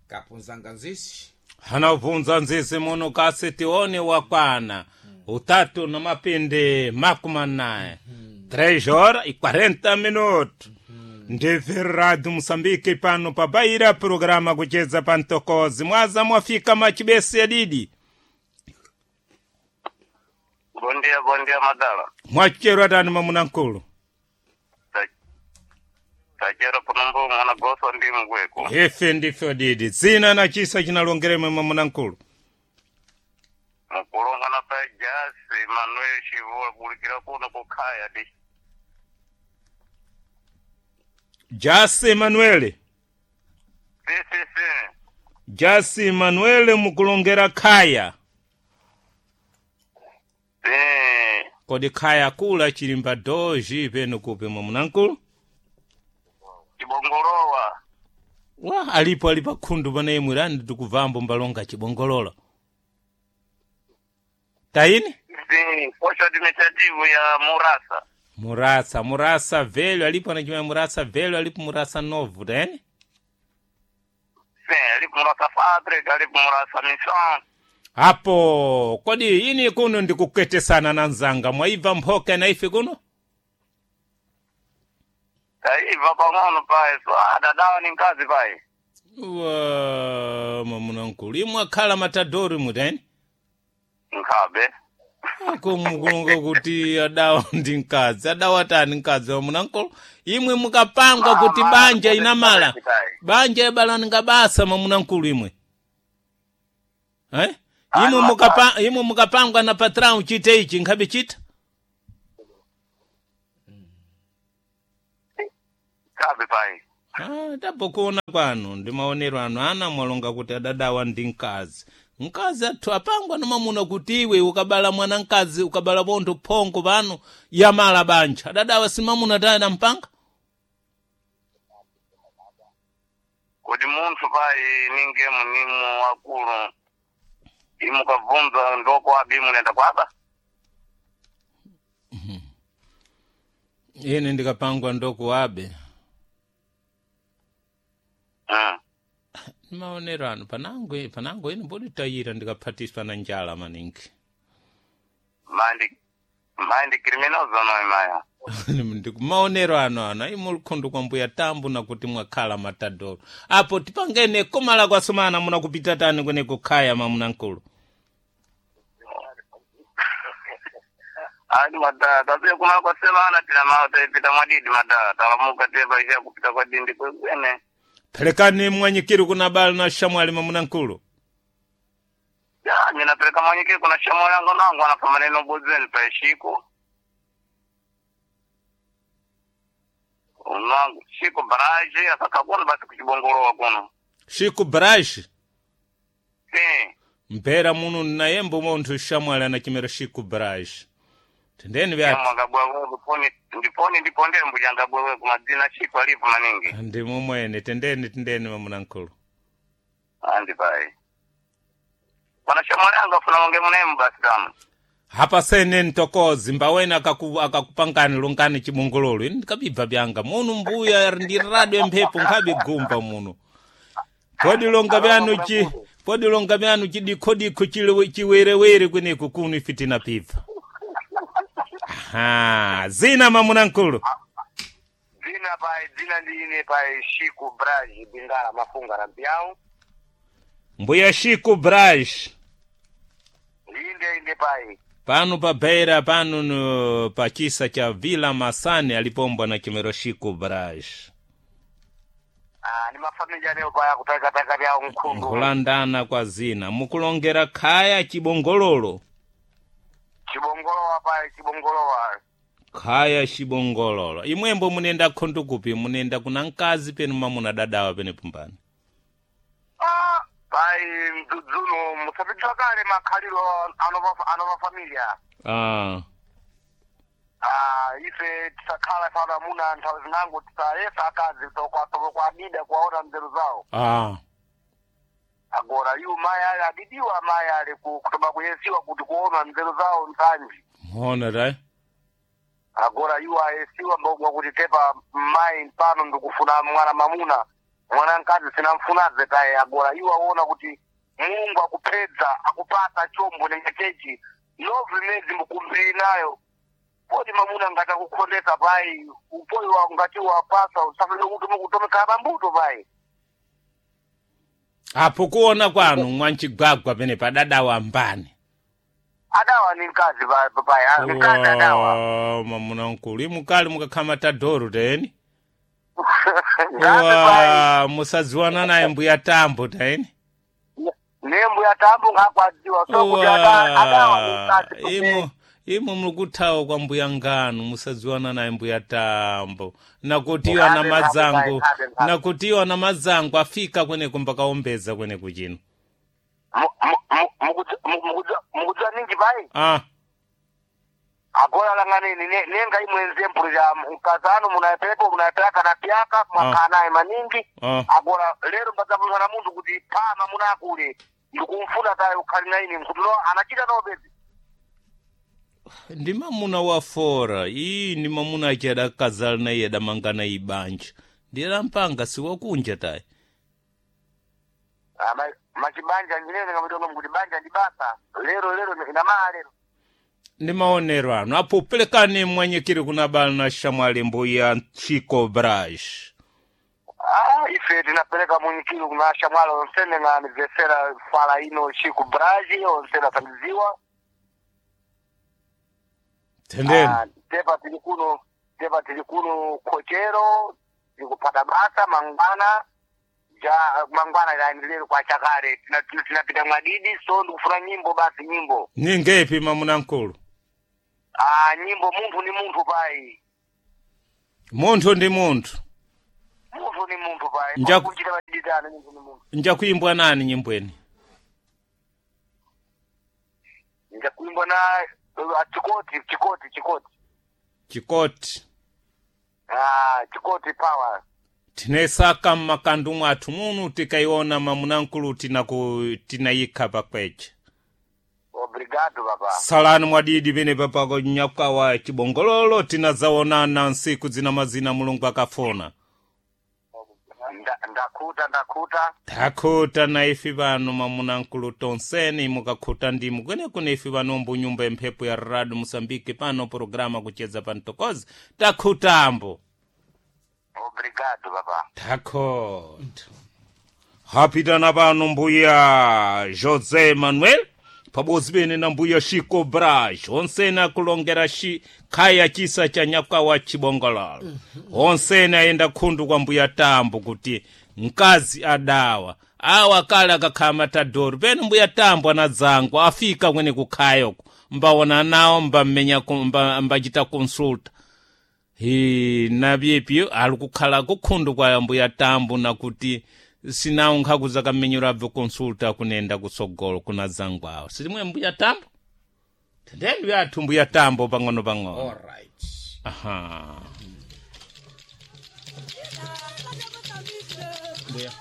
Kapunzanga nzisi. Hanabvunza nzizi muno kasi tione wakwana utatu na mapindi 40, 3 horas e 40 minutos. Ndibve Radio Moçambique pano pabaira programa kucheza pantokozi mwaza mwafika machibesi adidi. Bom dia, bom dia, madala. Mwachero atani mamunankulu. Tachera punombo mwana goso ndi mgweko. Ife ndife didi dzina na chisa chinalongeremwe mamunankulu. Mukulonga na pa Jasi Manuel Shivua kulikira kuno kukhaya di. Jasi Emanuele. Si si si. Jasi Emanuele mukulongera khaya. Si. Kodi khaya kula chilimba doji penu kupi mamunankulu? Chibongolowa. Wa alipo ali pakhundu pana imwe lani tikuvambo mbalonga chibongolola. Taini? Si. Posho administrative ya Murasa. Murasa, Murasa velho alipo anachimwa Murasa velho alipo Murasa novo, taini? Si. Alipo Murasa Fábrica, alipo Murasa Mission. Apo, kodi ini kuno ndikuketesana na nzanga mwaibva mphoka na ife kuno? Taiva pang'ono pai. So adadawa ni nkazi pai. Wa mamunankulu imwe akhala matadori mutaini? Nkhabe. Kumukulonga kuti adawa ndi mkazi adawa tani mkazi wa munankulu imwe mukapangwa kuti banja inamala banja ibalani basa mamunankulu imwe, eh? Imwe mukapa, imwe mukapangwa na patrão chite ichi nkhabe chita. Nkhabe pai. Ah, tapokuona kwanu ndi maonero anu ana mwalonga kuti adadawa ndi mkazi mkazi athu apangwa na mamuna kuti iwe ukabala mwana mkazi ukabala bontho phongo pano yamala banja adadawa si mamuna tayana mpanga. Kuti munthu pai ninge munimu wakulu imukabvunza ndoko abi munenda kwaba. Ine ndikapangwa ndokuwabe. Maonero anu panango panango ine mboditayira ndikaphatiswa na njala maningi. Mandi mandi criminoso noi maya. Ndikumaonero ano ano ayi mulikhondo kwa mbuya tambu nakuti mwakhala matadoro apo tipangene komala kwasomana munakupita tani kwene kukhaya mamunankulu. Ani madala tapiye kuna kwa semana tina mao taipita mwadidi madala talamuka tiye paisha kupita kwa dindi kwekwene. Phelekani mwanyikiri kuna bala na shamwali mamunankulu. Ya ninapeleka mwanyikiri kuna shamo yangu nangu anafa maneno bozeni paishiko. Unangu shiko baraji asakakuna basi kuchibongolowa kuno. Shiku brashi Si. mpera muno nayembo munthu shamwali anachimera shiku brashi tendeni vyati. Mwangabwewe ndiponi ndiponi ndiponde mbujangabwewe kumadzina shiko alipo maningi. Ndi mumwene tendeni tendeni mamunankulu. Andi pai. Pana shamwali yangu afuna wange munemu basi tamu. Hapa sene ntokozi mbawene akakupangani lungani chibongololo ini ndikabibva byanga munu mbuya ndi radio mphepo nkhabigumba muno podi longa byanu chi podi longa byanu chidikhodikho chile chiwerewere kweneko kuno ife tinapibva. Aha, zina mamunankulu. Dzina pai dzina ndine pai Shiku Braji Bingala Mafunga na Mpiau. Mbuya Shiku Braji. Inde inde pai. Pano pa beira pano no, pa chisa cha Vila Masani alipombwa na chimero Shiku Braji. Ah ni mafamilya leo pai akutaka taka vya mkundu. Nkulandana kwa zina mukulongera khaya chibongololo. Chibongolowa pai chibongolowa. Khaya chibongololo imwembo munenda khundu kupi munenda kuna mkazi penu mamuna dadawa pene pumbani. Ah pai mdzudzuno musapitwa kale makhaliro ano ano mafamilya. Ah. Ah ife tisakhala sana muna nthawi zinango tisayesa akazi tokwa kwa adida kuwaona nzeru zawo. Ah. Agora yu mayi ali adidiwa mayi ali kutoba kuyesiwa kuti kuona nzeru zawo nsanji. Mona rai. Agora yu ayesiwa mbogwa kuti tepa mayi mpano ndikufuna mwana mamuna. Mwana mkazi sinamfunaze taye agora iwo aona kuti Mulungu akupedza akupasa chombo nengechechi novi mezi mukumbiri nayo podi mamuna ngati akukhondesa pai upoyi wa ngati wapasa usafike kuti mukutomekhala pambuto pai. Apo kuona kwanu mwanchigwagwa pene padadawa mbani? Adawa ni mkazi pai pai mkazi adawa. Wa, mwamuna mkulu imukali mukakhala matadoro teni. Ngabe pai. Wa, musadziwana naye mbuya tambo teni. Nembu ya tambo ngakwadziwa so kuti adawa ni mkazi. Imo imo mukuthawa kwa mbuya nganu musadziwana naye mbuya tambo nakutiwa na Ngabe, madzangu ngabe, ngabe, ngabe. nakutiwa na madzangu afika kweneko mbakaombeza kweneko chino. Mukudziwa ninji pai. Ah. Agola langaneni nenga imwe nzempulu ya mkazano munapepo munapyaka na pyaka mwakhala naye maningi. Ah. Agora lero mbadzapulana munthu kuti pama munakule ndikumfuna taye ukhali na ine mkuti no anachita nobezi. Ndi mamuna wa fora iyi ndi mamuna achi adakazala naye adamangana ibanja ndiye mpanga siwakunja tayi. Ah, machibanja ndinene ngamitono mkuti banja ndi basa lero lero inamaa lero. Ndi maonero anu apo pelekani mwanyikiri kuna bala na shamwali mbuya Chico Brash. Ah, ife tinapeleka munyikiro kuna shamwali onsene nga anivesera fala ino Chico Braji onsene atangiziwa. Tendeni. Ah, tepa tili kuno tepa tili kuno kochero tikupata basa mangwana ja mangwana ilaendelere kwa chakale tinapita mwadidi so ndikufuna nyimbo basi nyimbo. Ningepi mamuna mkulu? Ah, nyimbo munthu ni munthu pai. Munthu ndi munthu. Munthu ni munthu pai. Kunjira badidana munthu ni munthu. Njakuimbwa nani nyimbweni? Njakuimbwa na chikoti chikoti chikoti. Chikoti. Ah, chikoti power. Tinesaka mmakandu mwathu munu tikaiona mamunamkulu tinayikha pakwecha. Obrigado baba. Salani mwadidi pene papako nyakawa chibongololo tinazaonana nsiku zina mazina Mulungu akafuna. Ndakhuta ndakhuta. Takhuta na ife pano mamunamkulu tonseni mukakhuta ndimu kwenekune ife pano mbunyumba ya mphepo ya Radio Mosambike pano programa kucheza pantokozi takhutambo. Obrigado baba. Takhuta. Hapitana pano mbuya José Manuel pabodzi pene na mbuya Chico Braz onsene akulongera khaya chisa cha nyakawa chibongololo onsene ayenda khundu kwa mbuya tambo kuti mkazi adawa awa kale akakhala matadoro pene mbuya tambo anadzangwa afika kwene kukhayoko mbaona nawo mbammenya mbachita consulta hi napyepyo ali kukhala kukhundu kwa mbuya tambo nakuti sinawo nkhaku zakamenyero abve consulta kunenda kutsogolo kuna zangwawo silimwe mbuya tambo tendeni yathu mbuya tambo pang'ono pang'ono. Alright. Aha. Mbuya. Yeah.